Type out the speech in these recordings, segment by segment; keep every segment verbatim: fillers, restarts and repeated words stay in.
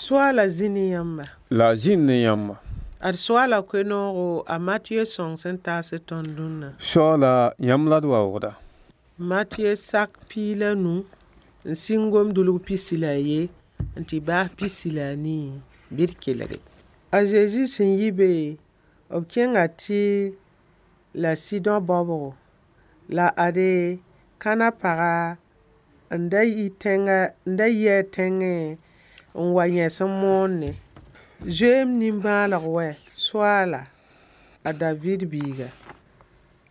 Soaala zĩ ne yãmba. La a zĩnd ne yãmba. Ad soaala koe-noogo a Matɩyɛ sõng sẽn taas tõnd dũnna. Soaala yãmb la d waoogda. Matɩyɛ sak piig la nu n sɩng gom-dʋlg pisi la a ye n tɩ baas pisi la a nii bɩ d kelge. A Zezi sẽn yi be, b kẽnga Tɩɩr la Sɩdõ baobgo. La ade, Kãnã paga n da yi tẽngã n da yi a tẽngẽ n wa yẽs n moonẽ: Zoe-m nimbãaneg wɛ, Soaala, a Daviid biiga.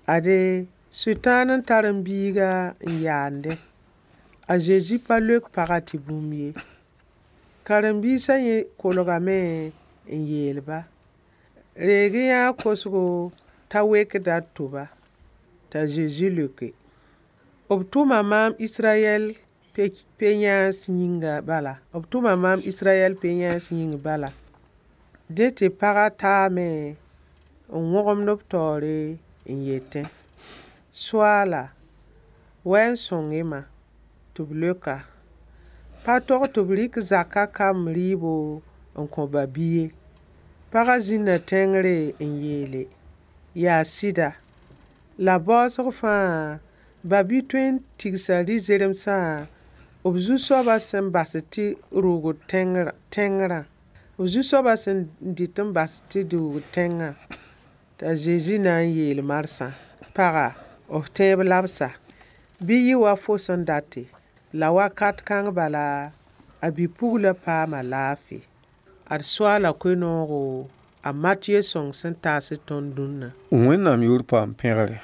Ade, Sʋtãan n tar m biiga n yaandẽ. A Zezi pa leok pagã tɩ bũmb ye. Karen-biisã yẽ kolgame n yeel-ba: Reeg-y-yã a kosgo t'a wekda d tʋba. T'a Zezi leoke: B tʋma maam Israyɛl pe-yãans yĩnga bala. B tʋma maam Israyɛl pe-yãans yĩng bala. Dẽ tɩ pagã taame n wõgemd b taoore n yetẽ: Soaala, wa n sõng-y-ma. Tɩ b leoka: Pa tog tɩ b rɩk zakã kamb rɩɩbo n kõ ba-bi ye. Pagã zĩnda tẽngre n yeele: Yaa sɩda. La baoosg fãa, ba-bi tõe n tigsa rɩ-zeremsã b zu-soabã sẽn bas tɩ rʋʋgd tẽngrã. B zu-soabã sẽn dɩt n bas tɩ rʋʋgd tẽngã. T'a Zezi na n yeel marsã: Paga, f tẽeb labsa. Bɩ yɩ wa fo sẽn date. La wakat kãng bala, a bi-puglã paama laafɩ. Ad soaala koe-noogo a Matɩyɛ sõng sẽn taas tõnd dũnna. Wẽnnaam yʋʋr paam pẽgre.